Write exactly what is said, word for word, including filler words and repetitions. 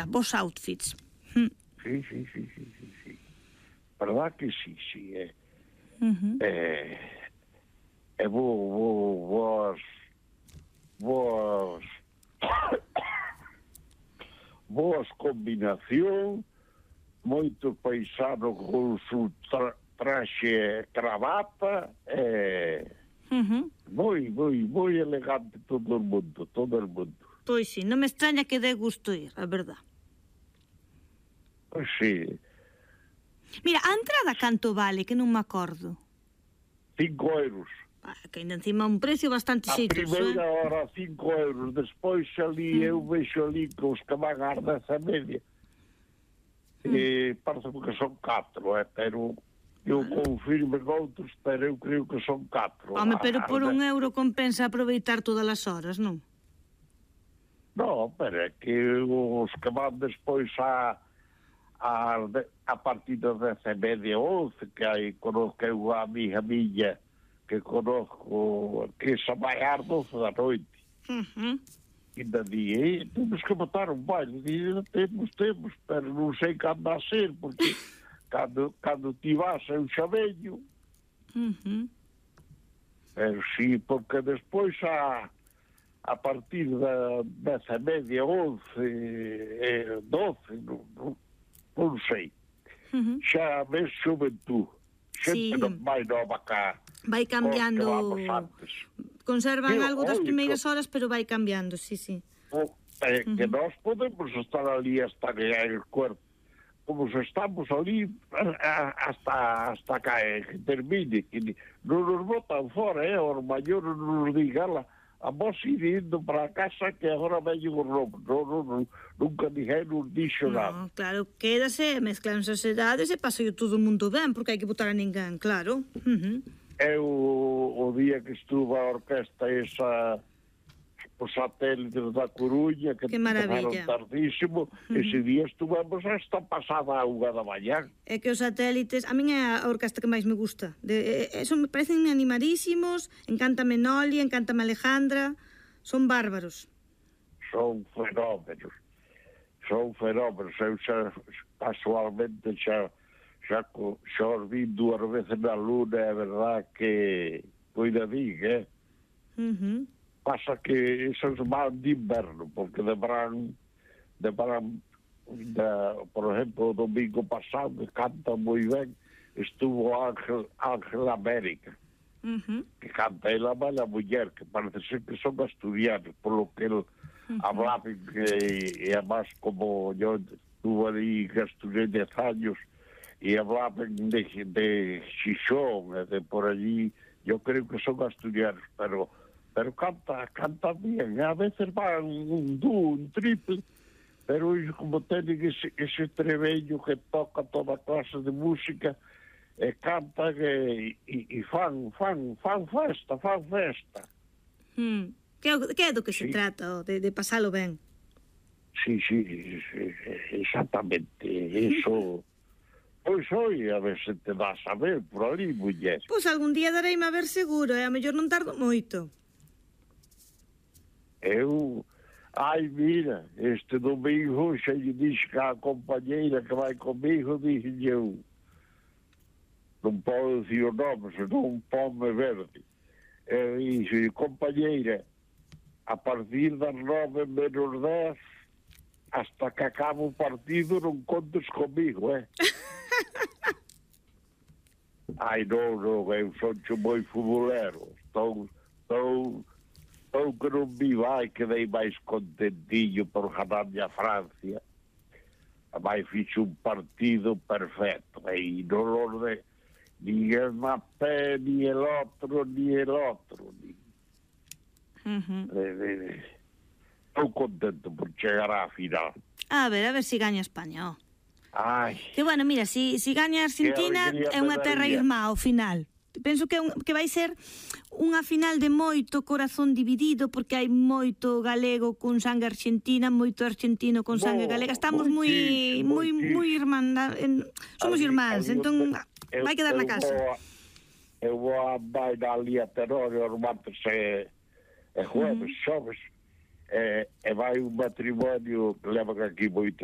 Vos outfits. Sí, sí, sí, sí, sí, sí. Verdad que sí, sí, eh. Uh-huh. Eh, e vos, vos, vos, vos combinación, moito paisano con su tra traxe cravata, eh, Uh-huh. moi, moi, moi elegante todo o mundo, todo o mundo. Pois sí, non me extraña que dé gusto ir, a verdad. Pois sí. Mira, a entrada canto vale, que non me acordo. Cinco euros. Ah, que ainda encima un precio bastante A xeitoso, primeira eh? hora cinco euros, despois ali mm. eu vexo ali que os que van a deza media. Mm. E parece que son catro, eh, pero eu ah. confirmo en outros, pero eu creo que son catro. Home, pero por un euro compensa aproveitar todas as horas, non? Non, pero é que os que van despois a a, a partir das dez e media, once, que hai, conozco unha amiga miña que conozco que se vai ás doce da noite. Uh-huh. E da día, temos que botar un baile. E temos, temos, pero non sei cando a ser, porque cando, cando ti vas eu xa veño. Uh-huh. Pero sí, porque despois a, a partir da dez e media, once, eh, doce, non, non, non sei. Uh-huh. Xa ves xuventud. Xente sí. Non vai nova cá. Vai cambiando. Conservan sí, algo das oi, primeiras que... horas, pero vai cambiando, sí, sí. O, eh, uh-huh. Que nós podemos estar ali hasta que cae el cuerpo. Como se estamos ali hasta, hasta cae, que termine. Que non nos botan fora, eh? Os maiores non nos digan, a vos ir indo para a casa que agora veñen os rombos. Non, non, non, nunca ninguén nos dixo no, nada. Claro, quédase, mezclan as edades e pasa todo o mundo ben, porque hai que botar a ninguén, claro. Uh-huh. Eu, o día que estuvo a orquesta esa, os satélites da Coruña, que, que maravilla, tardísimo, uh-huh. Ese día estuvemos hasta pasada a unha da mañá. É que os satélites, a min é a orquesta que máis me gusta. De, eso me parecen animadísimos, encántame Noli, encántame Alejandra, son bárbaros. Son fenómenos, son fenómenos. Eu xa, casualmente, xa, xa, xa os vi dúas veces na luna, é verdad que cuidadín, eh? Uh-huh. Pasa que esos van de inverno, porque de verán, de verán, de, por exemplo, o domingo pasado, que canta moi ben, estuvo Ángel, Ángel América, uh-huh. que canta ela mala muller, que parece ser que son asturianos, por lo que el uh-huh. hablaba, que, e además como yo estuve ali que estudié dez años, e hablaban de, de Xixón, de por allí, yo creo que son asturianos, pero pero canta, canta bien, a veces van un dúo, un triple, pero ellos como tienen ese, ese trebello que toca toda clase de música, e cantan e, e, e fan, fan, fan festa, fan festa. Hmm. Que, que é do que sí. se trata, de, de pasalo ben? Sí, sí, sí, exactamente, eso... Pois oi, a ver se te vas a ver por ali, muller. Pois algún día dareime a ver seguro, e a mellor non tardo moito. Eu, ai, mira, este domingo xa lle dixo que a compañeira que vai comigo, dixo eu, non podo dicir o nome, senón pome verde. E dixo, compañeira, a partir das nove menos dez, hasta que acaba o partido, non contes comigo, eh? Ai, non, non, eu son moi futbolero, estou, estou... ou que non vi vai, quedei máis contentillo por ganarme a Francia. Vai fixo un partido perfecto, e non lo de ni el Mbappé, ni el otro, ni el otro. Ni... Uh-huh. Eh, eh, estou contento por chegar á final. A ver, a ver si gaña España, oh. Ai. Que bueno, mira, si, si gaña Argentina é unha terra irmá ao final. Penso que, un, que vai ser unha final de moito corazón dividido, porque hai moito galego con sangue argentina, moito argentino con sangue no, galega. Estamos moi moi moi irmandad, somos irmáns, entón vai quedar na casa. Eu vou a andar ali a Tenório os martes e, e jueves, uh-huh. xoves, e, e vai un matrimonio que levan aquí moitos